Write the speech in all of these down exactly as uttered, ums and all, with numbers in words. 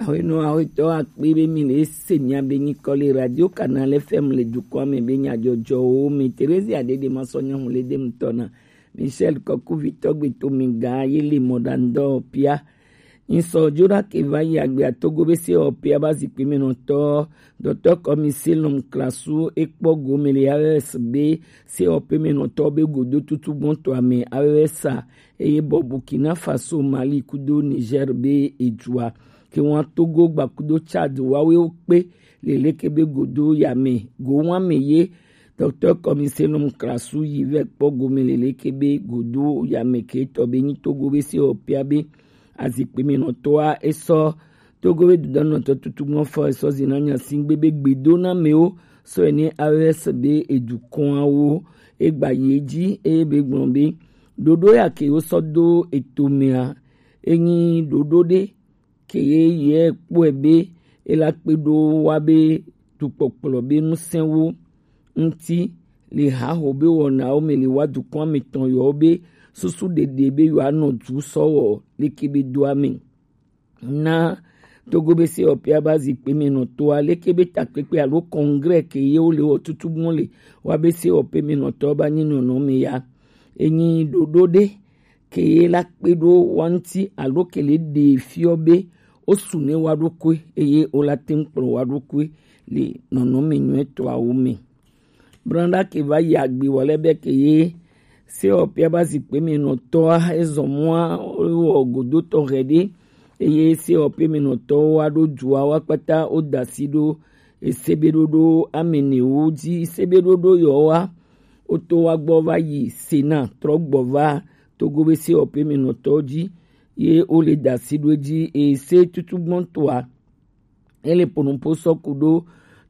Awenɔ awetɔ akpe be mi le se mia be nyikɔ le Radio Canal F M le dukɔa me be nyadzɔdzɔwo me. Teresia Dede ma sɔ nyɔnu le dem tɔna. Michel Kɔkuvitɔ gbe to mi ga ye le mɔɖaŋdɔ pia. Ŋsɔ Jona ke va yi agbe atogo be se ɔpia ba zikpui me nɔtɔ. Dɔtɔ kɔmi Selom Klasu ekpɔ gome le A E S be se ɔpe me nɔtɔ be godo tutu gbɔntɔ ame A E S a eye bɔ Burkina Faso, Mali kudo Niger be ejua. Ke wan Togo gba kudo Chad wawe wo kpe le leke be godo yame go wan me ye. Dɔktɔ Kɔmi Selom Klasu yi vɛ kpɔ gome le leke be godo yame ke tɔ be nyi Togo be se ɔpia be azikpui me nɔtɔa esɔ Togo be dudɔnɔtɔ tutu mɔ fɔ esɔ zina nya singbe be gbedo na mewo sɔ ene A E S be edukɔawo egba ye dzi eye be gblɔ be ɖoɖo ya ke wo sɔ do eto mea enyi ɖoɖo ɖe ke ye ye kpɔe be ela kpe ɖo wa be dukpɔkplɔ be nusɛnwo ŋuti le haho be wɔnawo me le wa dukɔa me tɔn yɔwo be susu ɖeɖe be yewoanɔ du sɔ wɔ leke be doa me. Na Togo be se ɔpia ba zikpui me nɔtɔa leke be takpekpe alo congrès ke ye wo le wɔ tutu gbɔn le wa be se ɔpe me nɔtɔ ba nyi nɔnɔ me ya. Enyi ɖoɖo ɖe ke ye la kpe ɖo wa ŋuti alo ke le ɖe fiɔ be wo su ne wa ɖokui eye wo la te ŋu kplɔ wa ɖokui le nɔnɔme nyuitɔawo me. Branda ke va yi agbe wɔ lɛ be ke ye se ɔpia ba zikpui me nɔtɔa ezɔ mɔa wɔ godotɔ hɛ ɖe eye se ɔpe me nɔtɔwo wa ɖo dua wa kpata wo da si ɖo esebeɖoɖo ame newo dzi. Sebeɖoɖo yɔ wa woto wa gbɔ va yi Sena trɔ gbɔ va Togo be se ɔpe me nɔtɔ dzi ye wo le da si ɖo dzi ese tutu gbɔntɔa ele ponopo sɔ ku ɖo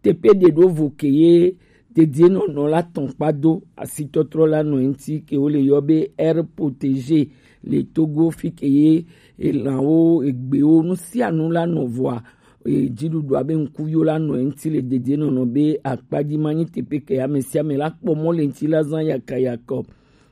teƒe ɖe ɖo vo ke ye dedienɔnɔ la tɔn kpa do asitɔtrɔ la nɔ eŋuti ke wo le yɔ be air protégé le Togo fi ke ye elãwo egbewo nu sia nu la nɔ vɔa dziɖuɖua be ŋkuviwo la nɔ eŋuti le dedienɔnɔ be akpa dzi ma nyi teƒe ke ame sia ame la kpɔ mɔ le ŋuti la zã yakayakɔ.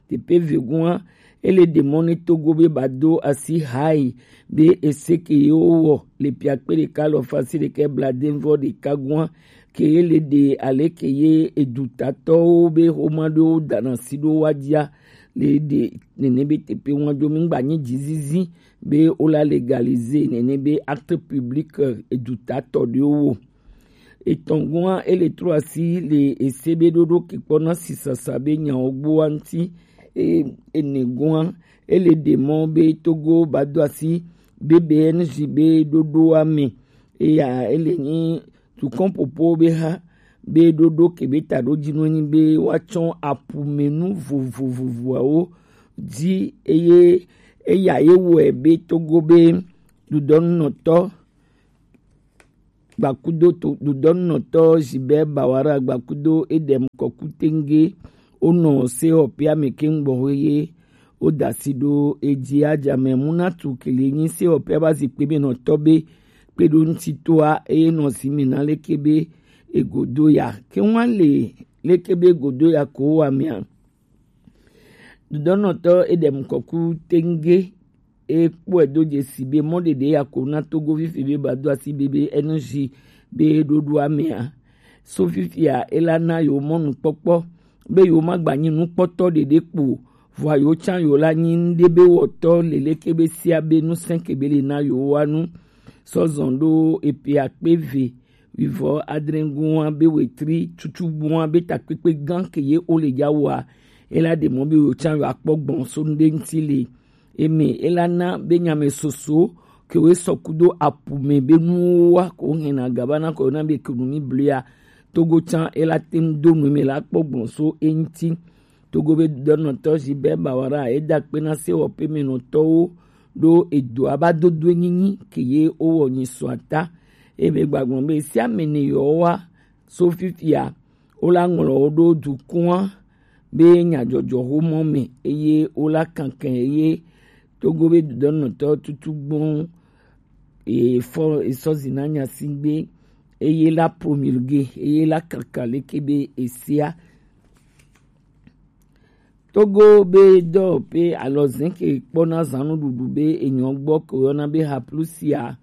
Teƒe vegua ele ɖe mɔ ne Togo be ba do asi hai be ese ke ye wo wɔ le piakpe ɖeka alɔfa si ɖeka blaadevɔ ɖeka gua ke ye le ɖe ale ke ye edutatɔwo be xoma ɖewo dana si ɖo wa dzia le ɖe nene be teƒe wa do mi gba nyi dzizizi be wo la légaliser nene be acte public edutatɔ ɖewo. Etɔ̃ gua ele trɔ asi le ese be ɖoɖo ke kpɔna sisasa be nyawo gboa ŋuti. Ene gua ele ɖe mɔ be Togo ba do asi be B N J be ɖoɖoa me eya ele nyi tukɔn popo be ha be ɖoɖo ke be ta ɖo dzi nɔ nyi be woatsɔ aƒumenu vovovovoawo dzi eye eya ye wɔe be Togo be ɖuɖɔnunɔtɔ gbakudo to ɖuɖɔnunɔtɔ Gilbert Bawara gbakudo Edem Kɔku Tenge wonɔ se ɔpea me keŋ gbɔ ye woda asi ɖo edzi adzame munatu kele nyi se ɔpea ba zikpui me nɔtɔ be kpe ɖo ŋuti toa eye nɔ si me na leke be egodo ya ke ŋua le leke be egodo ya ko wa mea. Ɖuɖɔnɔtɔ Edem Kɔku Tenge e kpɔe do dzesi be mɔ ɖeɖe ya ko na Togo fifi be ba do asi be be N G be ɖoɖoa mea. So fifia ela na yewo mɔnukpɔkpɔ be yewo ma gba nyi nukpɔtɔ ɖeɖe kpo o. Vɔa yewo tsã yewo la nyi ŋɖe be wɔtɔ leleke be sia be nusẽ ke be le na yewo wa nu. Sɔ zɔn ɖo epe akpe eve wivɔ adre gua be wetri tutu gua be takpekpe gã ke ye wo le dza wɔa, ela ɖe mɔ be yewo tsã yewo akpɔ gbɔn so ŋɖe ŋuti le eme ela na be nyame soso ke wo sɔ kudo apu me be nuwo wa ko hɛn na gaba na ko na be kenu mi blia Togo tsã ela te ŋu do nu me la kpɔ gbɔn so eŋuti. Togo be dɔnɔtɔ Gilbert Bawara eda kpe na sewɔƒe me nɔtɔwo ɖo edoa ba dodo nyinyi ke ye wowɔ nyi sɔ ata. Ebe gbagblɔ be sia me ne yewowa so fifia wo la ŋlɔ wo ɖo dukɔa be nyadzɔdzɔ xomɔ me eye wo la kankan eye Togo be dɔnɔtɔ tutu gbɔn efɔ esɔzi na nya si gbe eye la promulgué eye la kaka leke be esia. Togo be dɔwɔƒe alɔzẽ ke kpɔna zãnuɖuɖu be enyɔ gbɔ ke woyɔna be haplusia.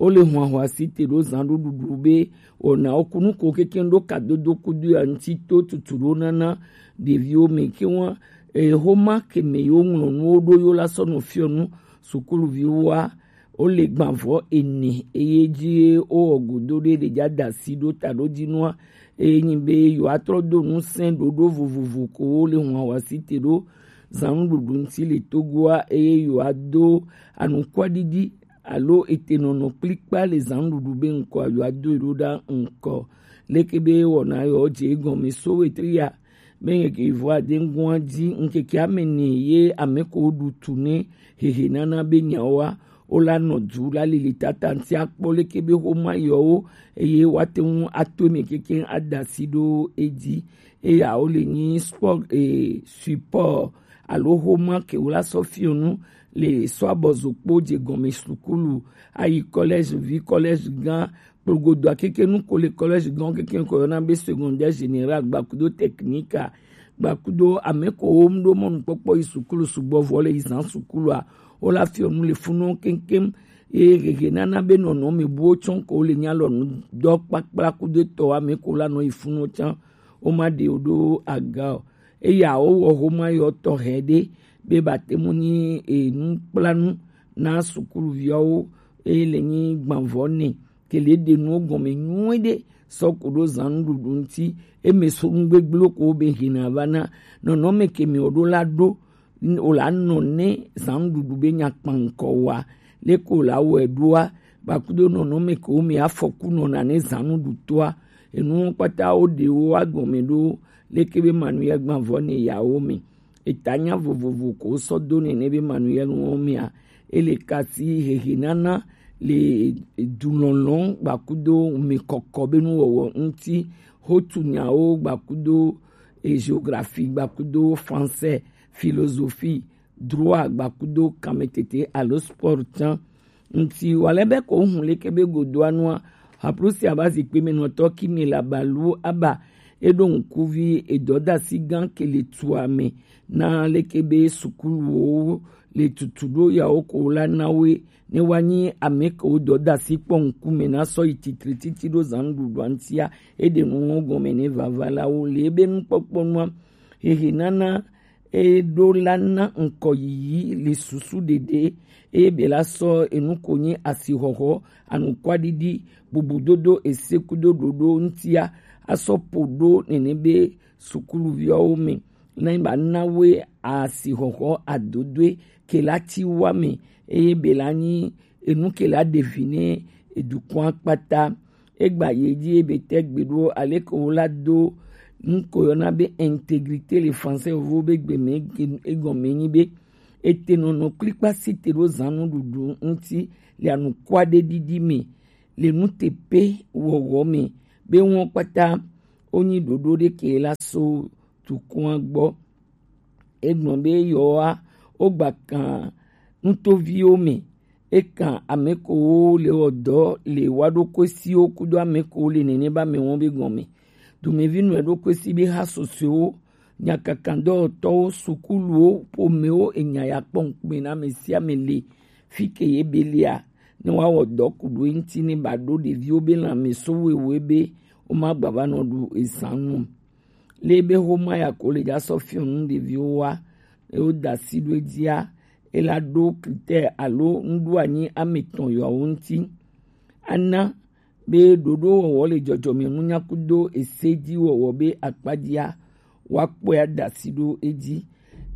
wo le hwanhwa si te ɖo zan ɖo ɖuɖu be wɔna wo kunu ko keke ɖo kadodo kudo ya ŋuti to tutu ɖo nana ɖeviwo me ke wa e homa ke me yo ŋlɔ nuwo ɖo yo la sɔ nɔ fiɔ nu sukuluviwo wa. Wo le gbanvɔ ene eye dzi ye wo wɔ godo ɖe ɖe dza da asi ɖo ta ɖo dzi nua eye nyi be yewoatrɔ do ŋusẽ ɖoɖo vovovo ko wo le hwanhwa si te ɖo zan nuɖuɖu ŋuti le Togoa eye yewoado anukwaɖiɖi alo etenɔnɔ kplikpa le zan nuɖuɖu be ŋkɔ yewoado yi ɖo ɖa ŋkɔ. Leke be wɔna yewo dze egɔme so wetri ya be ŋkeke vɔ ade ŋgɔa dzi ŋkeke ame ne ye ame ko ɖu tu ne hehe nana be nyawoa wo la nɔ du la lili tata ŋuti akpɔ leke be xoma yewo eye woate ŋu ato eme keke ada asi ɖo edzi. Eya wo le nyi sport e support alo xoma ke wo la sɔ fiɔ nu le sɔ abɔzokpo dze gɔme sukulu ayi collège vi collège gã kplogodoa keke nu ko le collège gã keke ko yɔna be secondaire général gbakudo technique gbakudo ame ko wo mu ɖo mɔnukpɔkpɔ yi sukulu sugbɔ vɔ le yi zan sukulua wo la fiɔ nu le funu keŋkeŋ. Eye hehe nana be nɔnɔme buwo tsɔ ko le nya lɔ nu dɔ kpakpla kudo etɔ ame ko la nɔ yi funu tsã wo ma ɖe wo ɖo aga o. Eya wo wɔ xoma yɔ tɔxɛ ɖe be ba te mu nyi enu kpla nu na sukuluviawo eye le nyi gbanvɔ ne ke le ɖe nuwo gɔme nyuie ɖe sɔ ko ɖo zan nuɖuɖu ŋuti eme so nu gbegblẽ ko be hina va na nɔnɔme ke mi wo ɖo la ɖo o la nɔ ne zan nuɖuɖu be nya kpankɔ wa leke o la wɔe ɖoa gbakudo nɔnɔme ke wo me afɔku nɔna ne zan nuɖutoa enuwo kpata wo ɖe wo agɔme ɖo leke be manuya gbanvɔ ne yawo me. Eta nya vovovo ko sɔ do nene be manuya nuwo mea ele kasi hehe nana le dulɔlɔ gbakudo mekɔkɔ be nuwɔwɔ ŋuti hotu nyawo gbakudo e géographie gbakudo français philosophie droit gbakudo kametete alo sport tsã ŋuti wale be ko hun leke be godoa nua haprusi aba zikpe me nɔtɔ kimi la balu aba eɖo ŋkuvi edɔdasi gã ke le tua me na leke be sukuluwo le tutu ɖo yawo ko la na woe ne woanyi ame kewo dɔdasi kpɔ ŋkume na sɔ yi titri titi ɖo zan nuɖuɖua ŋutia eɖe nuwo gɔme ne vavalawo le ebe nukpɔkpɔ nua hehe nana eɖo la na ŋkɔ yiyi le susu ɖeɖe eye be la sɔ enu ko nyi asixɔxɔ anukwaɖiɖi bubudodo esekudo ɖoɖo ŋutia asɔ po ɖo nene be sukuluviawo me na ba na woe asixɔxɔ adodoe ke la ti wa me eye be la nyi enu ke la ɖe vi ne edukɔa kpata. Egba ye dzi ebe te gbe ɖo aleke wo la do nu ko yɔna be intégrité le français vovo be gbe me egɔme nyi be ete nɔnɔ kplikpa si te ɖo zan nuɖuɖu ŋuti le anukua ɖe ɖiɖi me le nutepe wɔwɔ me be wɔn kpata wonyi ɖoɖo ɖe ke la so tukua gbɔ. Egblɔ be yewoa wogba kan nutoviwo me. Ekan ame kewo le wɔ dɔ le wa ɖokuisiwo kudo ame kewo le nene ba me wɔn be gɔme. Domevi nɔ ɖokuisi be ha sosoewo, nyakakandɔwɔtɔwo, sukuluwo, ƒomewo, enya ya kpɔ ŋkume na ame sia ame le fi ke ye be lia ne woawɔ dɔ ku ɖo eŋuti ne ba ɖo ɖeviwo be lãme so wewe be womagba va nɔ ɖu ezan nu. Le be xoma ya ko le dza sɔ fiɔ nu ɖeviwo wa eye woda asi ɖo edzia ela ɖo critère alo nuɖoanyi ame etɔ̃ yewoawo ŋuti. Ana be ɖoɖowɔwɔ le dzɔdzɔmenunya kudo esedziwɔwɔ be akpadzia woakpɔe ada asi ɖo edzi.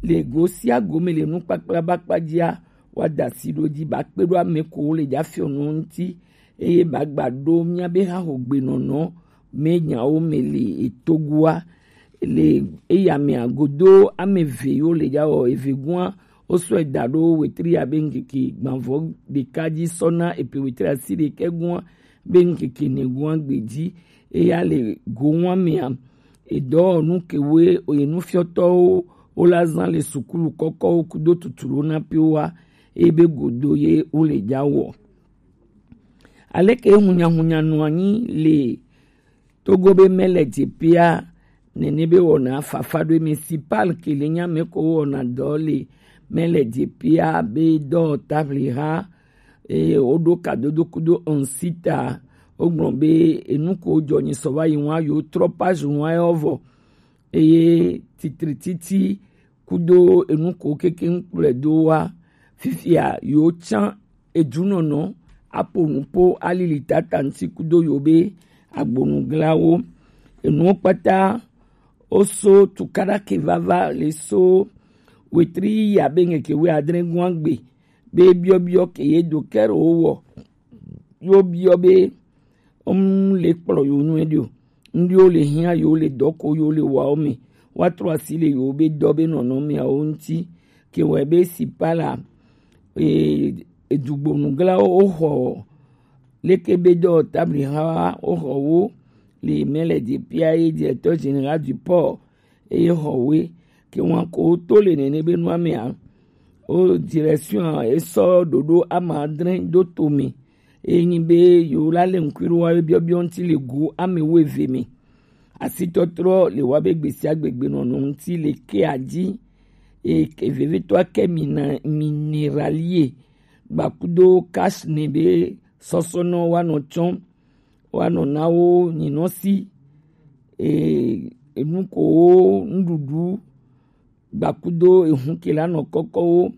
Le go sia go me le nukpakpla be akpadzia woada asi ɖo edzi bakpe ɖo ame ko le dza fiɔ nu ŋuti eye bagba ɖo mía be haxogbenɔnɔ me nyawo me le etogoa le eya mea godo ame eve yiwo le dza wɔ eve gua wosɔe da ɖo wetri abe ŋkeke gbãvɔ ɖeka dzi sɔ na epe wetri asi ɖekɛ gua be ŋkeke ne gua gbe dzi eya le go wa mea edɔwɔnu kewoe oye nufiɔtɔwo wola zã le sukulu kɔkɔwo kudo tuturu na piwoa eye be godo ye wole dza wɔ. Aleke hunyahunya nɔ anyi le Togo be mele dzepia nene be wɔna fafa ɖo municipal ke le nya me ko wɔna dɔ le mele dzepia be dɔ table ha eye woɖo kadodo kudo ŋsita. Wogblɔ be enu ko jɔ nyi sɔ va yi ŋua, yewo trɔ page ŋua yɔ vɔ. Eye titrititi kudo enu ko kekeŋ kplɔe do wa. Fifia yewo tsã edunɔnɔ aƒo nu po alili tata ŋuti kudo yewo be agbonuglawo. Enuwo kpata woso tukaɖa ke vava le so wetri yi abe ŋkeke wuiadre gɔ̃a gbe be biɔbiɔ ke ye do kɛro wɔ. Yo biɔ be ŋ le kplɔ yo nyuie ɖi o. Ŋɖiwo le hiã yo le dɔ ko yo le wa wo me. Woatrɔ asi le yo be dɔ be nɔnɔmeawo ŋuti. Ke wɔe be si pa la, e, edugbonuglawo woxɔ leke be dɔ tabli ha woxɔ wo le mɛ le depia ye directeur général du port eye xɔ woe. Ke ŋua ko to le nene be nua mea, o direction a esɔ ɖoɖo ama adre do to me. Eye nyi be yewo la le ŋkui ɖo wa be biɔbiɔ ŋuti le go ame wo eve me. Asitɔtrɔ le wa be gbesiagbe gbenɔnɔ ŋuti le kea dzi. Eye ke vevetɔa ke mina mineralie gbakudo cash ne be sɔsɔnɔ wa nɔ tsɔm, wa nɔ na wo nyinɔ si. E, enu ko wo nuɖuɖu gbakudo ehun ke la nɔ kɔkɔ wo.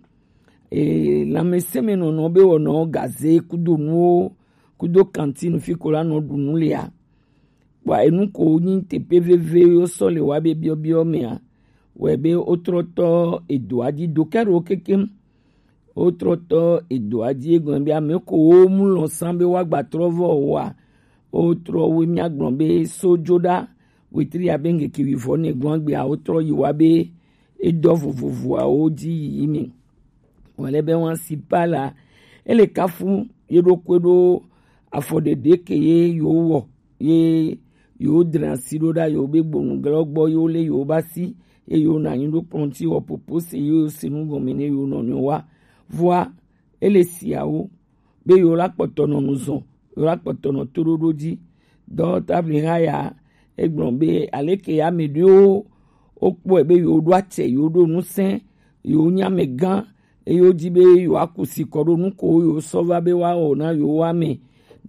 E, lãmesẽmenɔnɔ be wɔnɔ gaze kudo nuwo kudo kantine fi ko la nɔ ɖu nu lea. Kpɔa enu ko nyi teƒe veve yo sɔ le wa be biɔbiɔ mea, wɔe be wotrɔ tɔ edoa dzi do ke ɖo kekem. Wotrɔ tɔ edoa dzi egɔme be ame ko wo mu lɔ san be woagba trɔ vɔ wa. Wotrɔ wo mia gblɔ be so dzo ɖa wetri abe ŋkeke wuivɔ ne gɔ̃a gbea wotrɔ yi wa be edɔ vovovoawo dzi yiyi me. Wòle be wan si pa la, ele kafu ye ɖokui ɖo afɔɖeɖe ke ye yewo wɔ, ye yewo dra asi ɖo ɖa yewo be gbonuglawo gbɔ yewo le yewo ba si, ye yewo na anyi ɖo kplɔ̃ ŋuti wɔ popo se yewo se nu gɔme ne yewo nɔnɔewo wa. Vɔa, ele siawo be yewo la kpɔtɔ nɔ nu zɔn, yewo la kpɔtɔ nɔ toɖoɖo dzi. Dɔ tabli ha ya, egblɔ be aleke ame ɖewo wokpɔe be yewo ɖo atsɛ, yewo ɖo ŋusẽ, yewo nye amegã, eye wodi be yewoaku si kɔ ɖo nu ko yewo sɔ va be woawɔ na yewo ame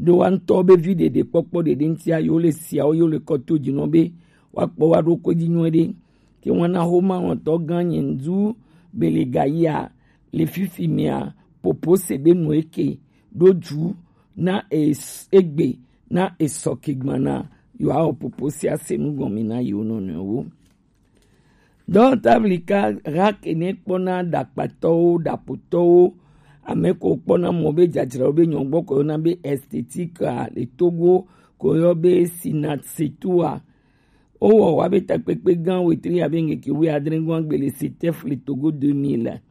ɖo wa ŋutɔ be vi ɖeɖe kpɔkpɔ ɖeɖe ŋutia yewo le siawo yewo le kɔ to dzi nɔ be woakpɔ wa ɖokui dzi nyuie ɖe. Ke wana xoma wɔtɔ gã nye ŋdu be le gayia le fifi mea popo se be nu eke ɖo dzu na es-, egbe na esɔ ke gbana yewoawɔ popo sia se nu gɔme na yewo nɔnɔewo. Dɔwɔtablika ha ke ne kpɔna ɖakpatɔwo, ɖaƒotɔwo, ame ko kpɔna mɔ be dzadzraɖo be nyɔgbɔ ko yɔna be esthétique a le Togo ko yɔ be Sinatsetua. Wowɔ wa be takpekpe gã wetri abe ŋkeke wuiadre gɔ̃a gbe le Setef le Togo deux mille.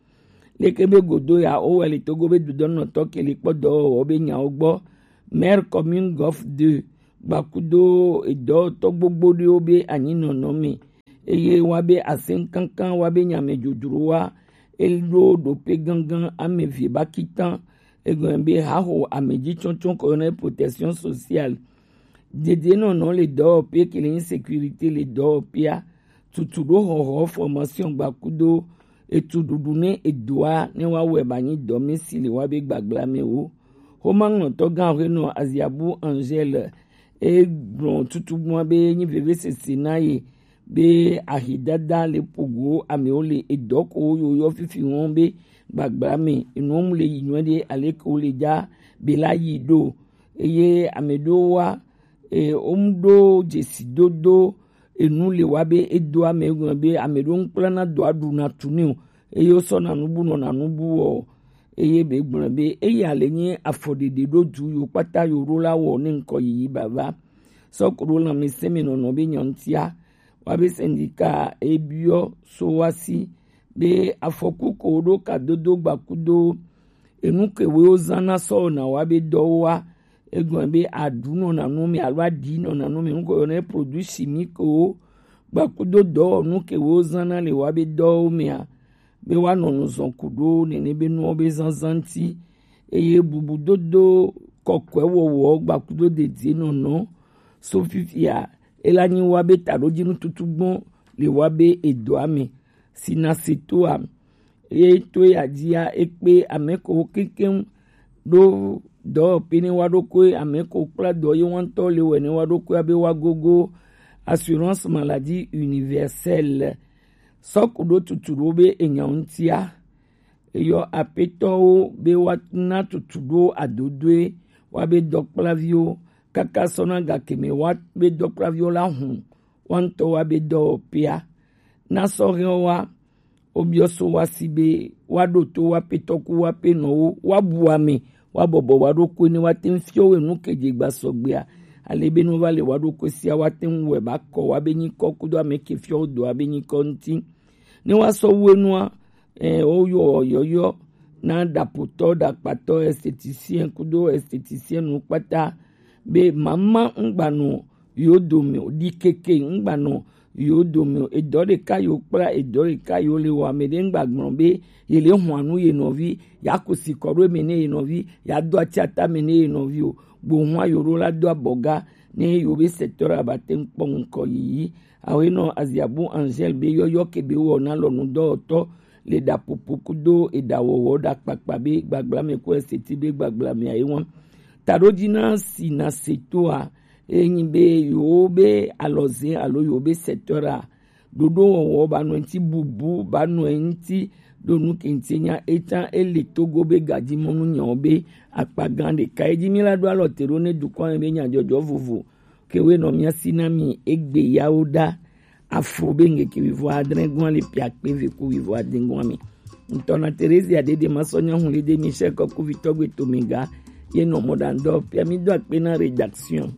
Leke be godo ya wowɔe le Togo be dudɔnɔtɔ ke le kpɔ dɔwɔwɔ be nyawo gbɔ. Maire commune Golf deux gbakudo edɔwɔtɔ gbogbo ɖewo be anyinɔnɔ me. Eye wa be asɛnkankan wa be nyame dzodzro wa eɖo ɖope gangan ame vie ba kitan. Egɔme be haxo ame dzi tsɔtsɔ ko yɔna protection sociale. Dedienɔnɔ le dɔwɔƒe ke le insécurité le dɔwɔƒea. Tutu ɖo xɔxɔ formation gbakudo etu ɖuɖu ne edoa ne wa wɛ ba nyi dɔme si le wa be gbagblame wo. Xoma ŋlɔtɔ gã aƒenɔ Aziabu Angèle e gblɔ tutugbua be nyi vevesese na ye be ahidada le pogo amewo le edɔ ko yo yɔ fifi wɔn be gbagblame enuwo mu le yi nyuie ɖe aleke wo le dza be la yi ɖo. Eye ame ɖewo wa e, womu ɖo dzesidodo enu le wa be edo ame gɔme be ame ɖewo ŋkplana dɔa ɖuna tu nɛ o, eye wosɔna nubu nɔna nubu wɔ o. Eye be gblɔ be eya le nye afɔɖeɖe ɖo du yo kpata yo ɖo la wɔ ne ŋkɔ yiyi bava. Sɔ ko ɖo lãmesẽ me nɔnɔ be nyɔnutia wa be syndicat ebiɔ so wa si be afɔku ko ɖo kadodo gbakudo enu ke wo zãna sɔ wɔna wa be dɔwo wa. Egɔme be aɖu nɔna nu me alo aɖi nɔna nu me, nu ko yɔna be produit chimique wo gbakudo dɔwɔnu ke wo zãna le wa be dɔwo mea, be woanɔ nu zɔn ku ɖo nene be nuwo be zazã ŋuti. Eye bubudodo kɔkɔe wɔwɔ gbakudo dedienɔnɔ so fifia ela nyi wa be taɖodzinu tutu gbɔ le wa be edɔa me. Sinasetoa ye to ya dzia ekpe ame ko kekeŋ ɖo dɔwɔƒe ne wa ɖokui, ame ko kpla dɔ ye wantɔ le wɛ ne wa ɖokui abe wa gogo assurance maladie universelle. Sɔku ɖo tutu ɖo be enya ŋutia, eyɔ apetɔwo be wa na tutu ɖo adodoe wa be dɔkplaviwo kaka sɔna gakeme wa be dɔkplaviwo la hun wantɔ wa be dɔwɔƒea. Na sɔhɛwo wa wobiɔ so wa si be wa ɖo to wa petɔku wa pe nɔwo wa bu ame wa bɔbɔ wa ɖokui ne wa te ŋu fiɔ we nu ke dze gba sɔgbea. Ale be nu va le wa ɖokui sia wa te ŋu wɛ ba kɔ wa be nyikɔ kudo ame ke fiɔ do wa be nyikɔ ŋuti. Ne wa sɔ wu enua, eh, wo yɔ yɔyɔ na ɖapotɔ, ɖakpatɔ, esthéticien kudo esthéticienne kpata be mama ŋgbanɔ yo dome o, ɖi keke ŋgbanɔ yo dome o. Edɔ ɖeka yo kpla, edɔ ɖeka yo le wɔ. Ame ɖe ŋgba gblɔ be ye le hɔn anu ye nɔvi, ya ku si kɔ ɖo eme ne ye nɔvi, ya do ati ata me ne ye nɔvi o. Gbo hɔn yo ɖo la do abɔga ne yo be secteur aba te ŋu kpɔ ŋkɔ yiyi. Awe nɔ Aziabu Angèle be yɔyɔ ke be wɔ na lɔnu dɔwɔtɔ le ɖapopo kudo eɖawɔwɔ ɖakpakpa be gbagbla me ko eseti be gbagbla me ayi wan. Taɖo dzi na si na se toa, enyi be yewo be alɔze alo yewo be secteur a, ɖoɖo wɔwɔ ba nɔ ŋuti bubu ba nɔ ŋuti ɖo nu ke ŋuti nya eta ele Togo be gadimɔnu nyawo be akpa gã ɖeka. Edzi mi la ɖo alɔ te ɖo ne dukɔ me be nyadzɔdzɔ vovo ke we nɔ mia si na mi egbe yawo ɖa. Afo be ŋkeke wuivo adre gɔn le pia kpe ve ku wuivo ade gɔn me. Ŋutɔ na Terezia Dede Masɔ Nyahun le de Michel Kɔkuvitɔ gbe to mi ga ye nɔ mɔ ɖa ŋdɔ pia mi do akpe na rédaction.